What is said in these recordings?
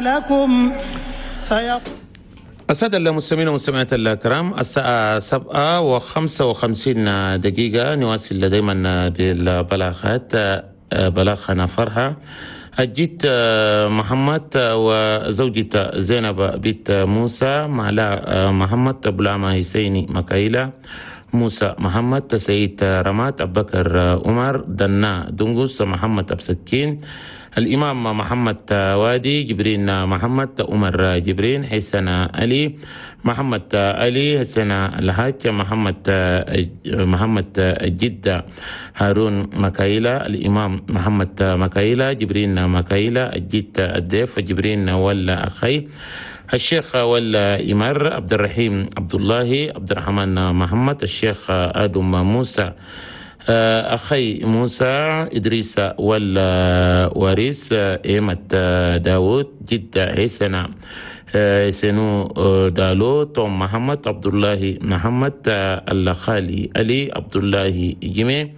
لكم. السادة المستمعين والمستمعات الكرام، الساعة 7:55، نواصل دائما بالبلاغات. بلاغنا فرحة الجيت محمد وزوجته زينب بنت موسى، معلا محمد، بلاما حسيني مكايلة، موسى محمد، سيد رمات، أبو بكر عمر، دنا دنقس، محمد أبسكين، الإمام محمد وادي، جبرين محمد، عمر جبرين، حسن علي، محمد علي، حسن الحاج، محمد جدة، هارون مكايلة، الإمام محمد مكايلة، جبرين مكايلة، الجد الديف، جبرين ولا أخي، الشيخ ولا إمار، عبد الرحيم عبد الله، عبد الرحمن محمد، الشيخ آدم موسى، أخي موسى، إدريس والوارث، إيمة داود، جدة حسنة سنو دالو، توم محمد، عبد الله محمد، الخالي علي، عبد الله جمي،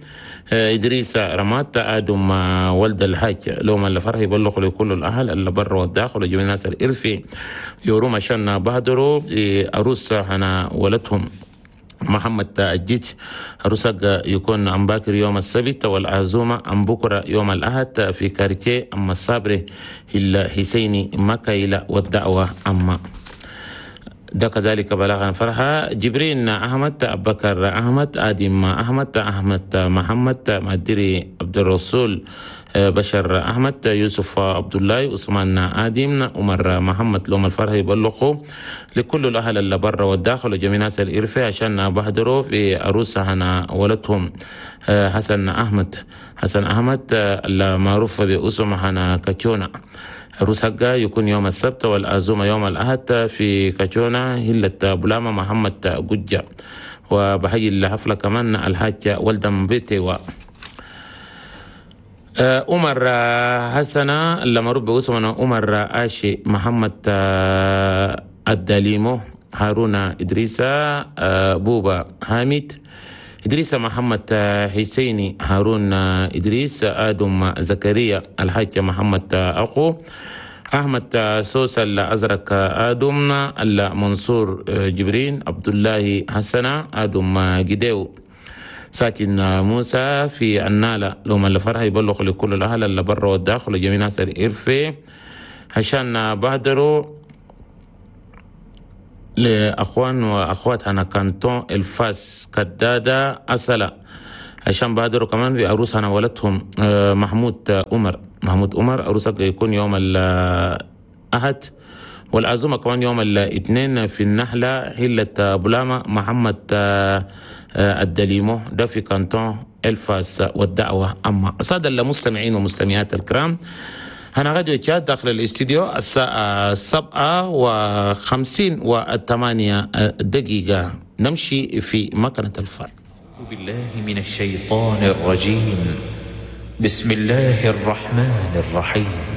إدريس رمات، آدم ولد الحاج. لو الفرح يبلغ لكل الأهل اللي برا والداخل وجميع الناس الإرفي يورو عشان بهدروا أروس هنا ولدهم محمد الجيت. رسق يكون أم باكر يوم السبت والعزومة أم بكرة يوم الأحد في كارتيه أم الصابري الحسيني مكايلة والدعوة أما ده. كذلك بلاغا فرحة جبرين أحمد، أبو بكر أحمد، آدم أحمد، أحمد محمد، مدري عبد الرسول، بشر أحمد، يوسف عبد الله، عثمان آدم، عمر محمد. لهم الفرح يبلغوا لكل الأهل اللي برا والداخل وجميع ناس الإرفة عشان بحضروا في عروسة هنا ولدهم حسن أحمد، حسن أحمد المعروف باسم هنا كاتشونا. عروس حقا يكون يوم السبت والعزومة يوم الأحد في كاتشونا هلة بلاما محمد ججة. وبحيي الحفلة كمان الحاج ولدم بيتي و عمر حسنة اللي معروف باسمه عمر آشي، محمد الدليمو، هارون إدريسة، بوبا حامد، إدريس محمد حسيني، هارون إدريس، آدم زكريا، الحاج محمد أخو، أحمد سوسة الأزرق، آدم المنصور، جبرين عبد الله، حسنة آدم جديو، ساكن موسى في النالة. لهم الفرح يبلغ لكل الأهل اللي برا والداخل وجميع ناس الإرفي عشان بهدروا لأخوان وأخوات هنا كانتون الفاس كدادة أسلا عشان بهدروا كمان في عروس هنا ولدهم محمود عمر، محمود عمر عروسك يكون يوم الأحد والعزومة كمان يوم الاثنين في النحلة هلة بلاما محمد الدليمو ده في كانتون الفاس والدعوة أما. السادة المستمعين والمستمعات الكرام، هنا راديو تشاد داخل الاستديو الساعة 7:58 نمشي في مكنة الفار. بالله من الشيطان الرجيم، بسم الله الرحمن الرحيم.